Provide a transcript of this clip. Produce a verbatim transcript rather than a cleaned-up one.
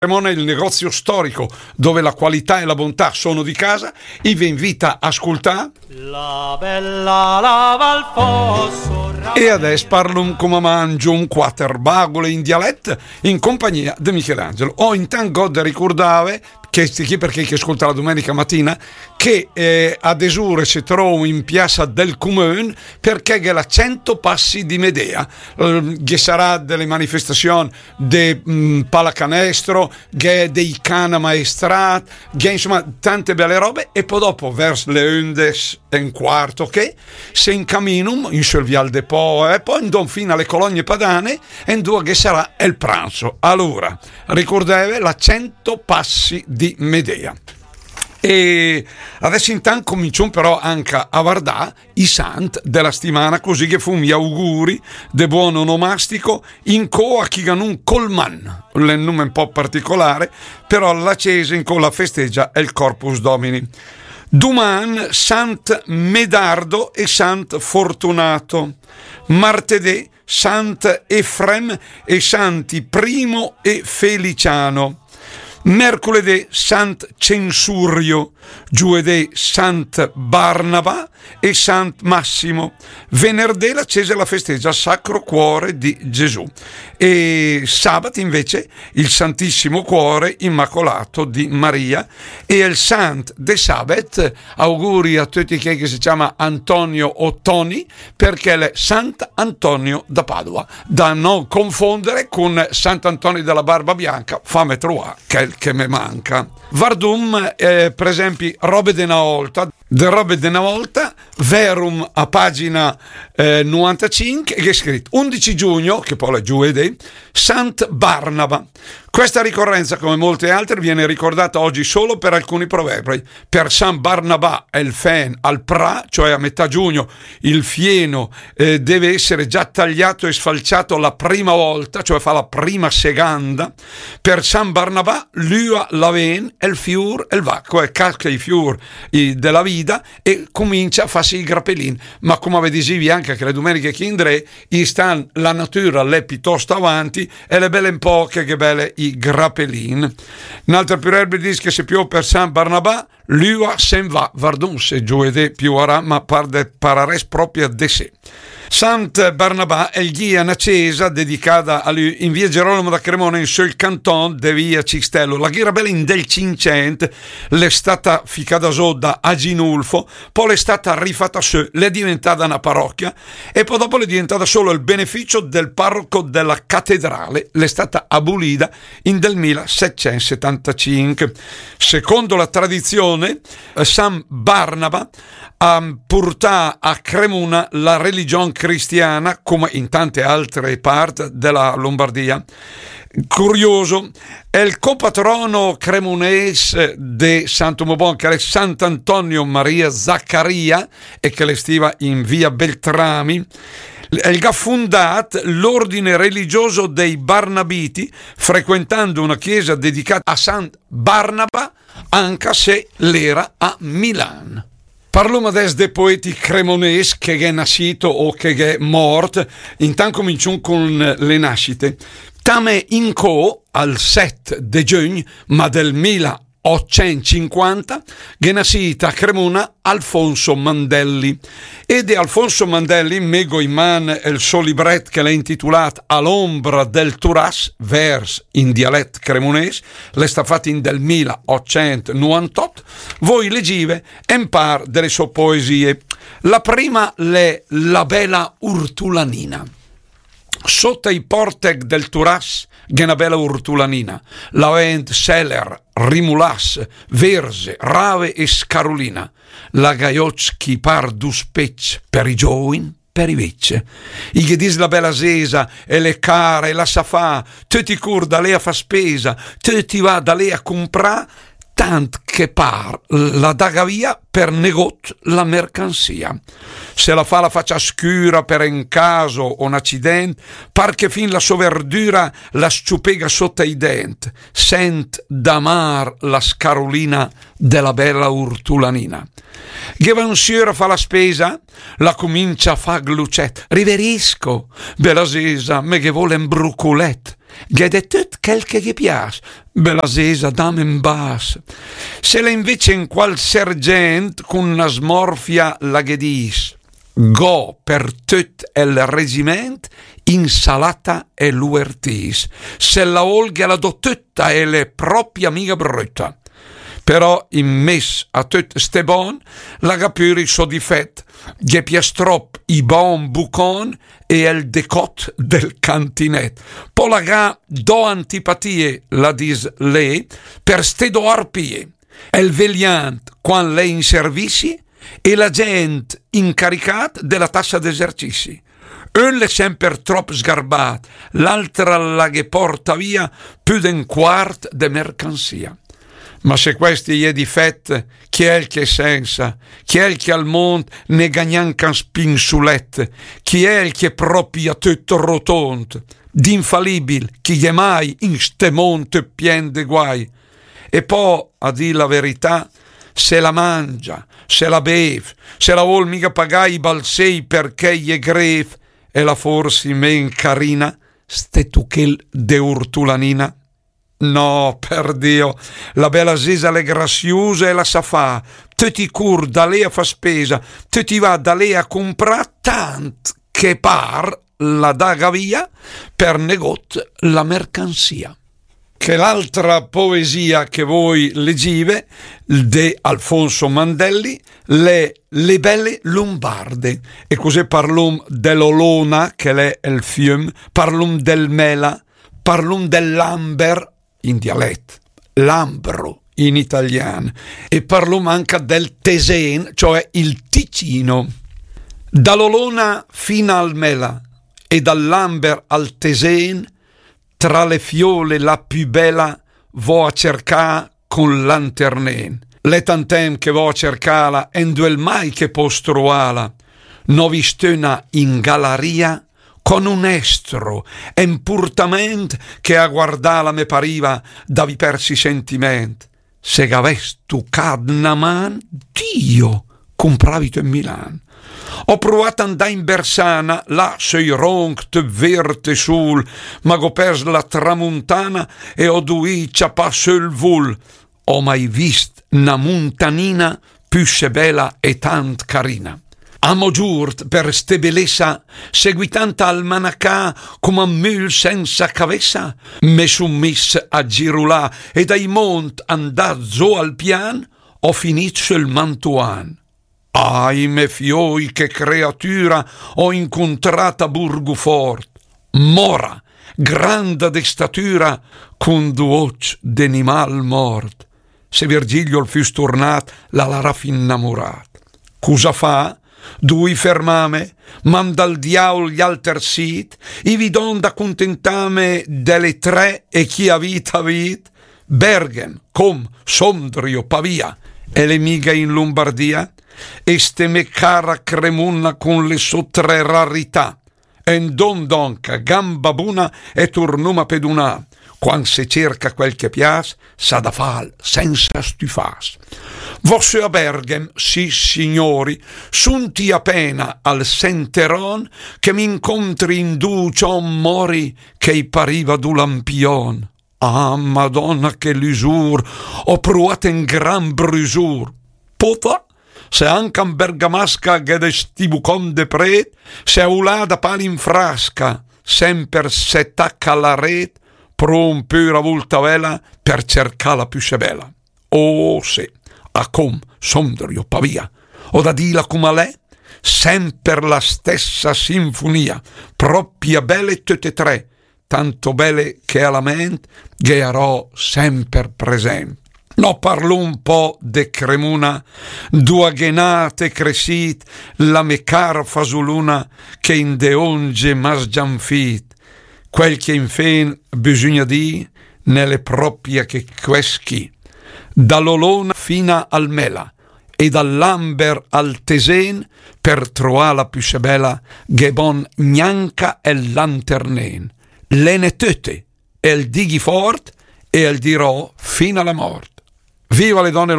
Cremona, il negozio storico dove la qualità e la bontà sono di casa, i ve invita a ascoltà. La bella lava al fosso. E adès parlum come mangium, quater bagule in dialet, in compagnia de Michelangelo. O intant gh'ho de ricurdave, che sti chi perché che ascolta la domenica mattina, che eh, a desure se trovo in piazza del Comune perché gh'è la cento passi di Medea, eh, ghe sarà delle manifestazioni de mm, pallacanestro, gh'è dei can ammaestrat, gh'è insomma tante belle robe e poi dopo verso le undici e un quarto che se incaminum in sul vial de Po e poi andom fino alle colonie padane e dove che sarà il pranzo. Allora, ricordate la cento passi di Medea. E adesso intanto cominciamo però anche a guardare i sant della settimana, così che fum gli auguri de buon onomastico in coa chi ganun Colman, un nome un po' particolare, però la Chiesa in coa la festeggia è il Corpus Domini. Duman Sant Medardo e Sant Fortunato, martedì Sant Efrem e Santi Primo e Feliciano, mercoledì Sant Censurio, giovedì Sant Barnaba e Sant Massimo. Venerdì la Chiesa la festeggia il Sacro Cuore di Gesù e sabato invece il Santissimo Cuore Immacolato di Maria e il Sant de Sabet. Auguri a tutti quelli che si chiama Antonio o Toni, perché l'è Sant Antonio da Padova, da non confondere con Sant Antonio della Barba Bianca, fame trovare quel che me manca. Vardum, eh, per esempio, robe de na volta, de robe de na volta, verum a pagina eh, novantacinque, che è scritto undici giugno, che poi è giovedì, Sant Barnaba. Questa ricorrenza, come molte altre, viene ricordata oggi solo per alcuni proverbi. Per San Barnabà el fen al pra, cioè a metà giugno il fieno eh, deve essere già tagliato e sfalciato la prima volta, cioè fa la prima seganda. Per San Barnabà l'ua la ven, el fiur, el va, cioè casca i fiur i, della vita e comincia a farsi i grappellin. Ma come ve dicevi anche che le domeniche che indrè, i stan la natura l'è piuttosto avanti e le belle un po' che, che belle i grappellin. Un'altra proverbio dice che se piove per San Barnabà, l'ua se'n va, vardum se giovedì piovarà, ma par de, pararès proprio de sé. Sant Barnabà el gh'ia na cesa dedicada a lü in via Gerolamo da Cremona in sul canton de via Cistello. La gh'era bella in del Cinccent, l'è stata ficada sö da Aginulfo, poi l'è stata rifata sö, l'è diventada na parrocchia e poi dopo l'è diventada solo il beneficio del parroco della cattedrale, l'è stata abolida in del millesettecentosettantacinque. Secondo la tradizione, eh, San Barnaba ha portà a Cremona la religion cristiana, come in tante altre parti della Lombardia. Curioso, è il copatrono cremonese de Santo Mobon, che è Sant'Antonio Maria Zaccaria, e che le stiva in via Beltrami, el gh'ha fundat l'ordine religioso dei Barnabiti, frequentando una chiesa dedicata a San Barnaba, anca se l'era a Milan. Parlom adès de poeti cremones che gh'è nascito o che gh'è mort, intant comincium con le nascite. Tame incò al set de giugn, ma del mila ottocentocinquanta, gh'è nascit a Cremona Alfonso Mandelli. E de Alfonso Mandelli me gh'ho in man el so libret che l'è intitolat A l'ombra del Turas, vers in dialet cremones, l'è stat fat in del mila ottocentonovantotto, voi legive en par de le so poesie. La prima l'è La bela urtulanina. Sota i portec del Turas gh'è na bela urtulanina, la vend seler, rimulass, verze, rave e scarulina. La gh'ha i occ chi par du specc, per i giovin, per i vecc. I ghe dis la bela zesa, e l'è cara, e la sa fa, töcc i cur da lé a fa spesa, töcc i va da lé a cumprà, tant che par la daga via per negót la mercansia. Se la fa la facia scüra per en caso o 'n acident, par che fin la so verdüra la s-ciupega sota i dent, sent d'amar la scarulina de la bela urtulanina. Ghe va un siur a fa la spesa, la cumincia a fa glucet. Riverisco, bela zesa, me ghe vol en bruculet. Gh'è de töt chel che ghe pias, Bela zesa, dam en bas. Se l'è invece en qual sergent, cun na smorfia la ghe dis: go per töt el regiment insalata e luertis. Se la ol ghe la do töta, e l'è propia miga bröta. Però in mes a töt ste bon, la ga pür i so difet, ghe pias trop i bon bucon e el decot del cantinet. Po la ga do antipatie, la dis lé, per ste do arpie. El veliant quan l'è in servizi e la gent incaricat de la tassa d'esercizi. Ön l'è semper trop sgarbat, l'altra la ghe porta via pü d'un quart de mercanzia. Ma se questi i è difet, chi è el che sensa, chi è el che al mond ne ga gnanca un spinsulet, chi è el che propia töt rotond, d'infalibil, chi gh'è mai in ste mond pien de guai? E po, a dì la verità, se la mangia, se la bev, se la vol miga pagà i balzei perché i è grev, e la forsi men carina, ste tuchel de urtulanina? No, per Dio, la bela zesa l'è graziusa e la sa fa, töt i cur da lé a fa spesa, töt i va da lé a cumprà, tant che par la daga via per negot la mercanzia. Che l'altra poesia che voi legive, de Alfonso Mandelli, l'è Le belle lombarde, e cusì parlum de l'Olona, che l'è el fium, parlum del Mela, parlum del Lamber, in dialet, Lambro in italian, e parlum anca del Tesen, cioè il Ticino. Da l'Olona fina al Mela e dal Lamber al Tesen, tra le fiole la pü bela vo a cercà cun lanternen. L'è tant temp che vo a cercala, e 'nduel mai che pos truala? N'ho vist öna in galaria con un estro e 'n purtament che a guardala me pariva d'avì pers i sentiment. Se gh'avess tucat na man, Dio, cumpravi töt Milan. Ho pruat a 'ndà in Bersana, là söi ronc töt vert e sul, ma gh'ho pers la tramuntana e ho duì ciapà sö 'l vul. Ho mai vist na muntanina püssé bela e tant carina. Amo giurt per ste belessa, seguitant a almanacà coma 'n mül sensa cavessa, me sun miss a girulà e dai mont andà zo al pian, ho finit söl Mantuan. Ai me fioi, che creatura ho incuntrat a Burgufort, mora, granda de statura, cun du oc de nimal mort. Se Virgilio 'l füss turnat, la l'araf innamurat. Cusa fa? Dui fermame, manda al diaul gli alter sit, i vi don da cuntentame de le tre e chi a vit a vit, Berghem, Com, Sondrio, Pavia, e le miga in Lombardia? E ste me cara Cremuna cun le so tre rarità, e 'ndon donca, gamba buna, e turnum a pedunà. Quand se cerca quel che pias, s'ha da fal sensa stüfas. Vo sö a Berghem, sì signori, sunti apena al senteron che m'incontri in du cion mori che i pariva du lampion. Ah, Madonna, che lusur, ho pruat en gran brusur. Pota, se anca 'n bergamasca gh'è de sti bucon de pret, se a ulà da pal in frasca, semper se taca la ret, prum pür a vulta vela per cercà la püssé bela. Oh, sì, a Com, Sondrio, Pavia, ho da dila coma l'è, semper la stessa sinfonia, propia bele töte tre, tanto bele che a la ment ghe arò semper present. No parlum po de Cremuna, dua gh'è nat e cressit la me cara fasuluna che in de onge m'ha sgianfit. Quel che infen bisugna dì ne l'è propia che quest chì. Da l'Olona fina al Mela e dal Lamber al Tesen, per troà la püssé bela, gh'è bon gnanca el lanternen. L'è ne töte, el dighi fort e el dirò fin a la mort. Viva le donne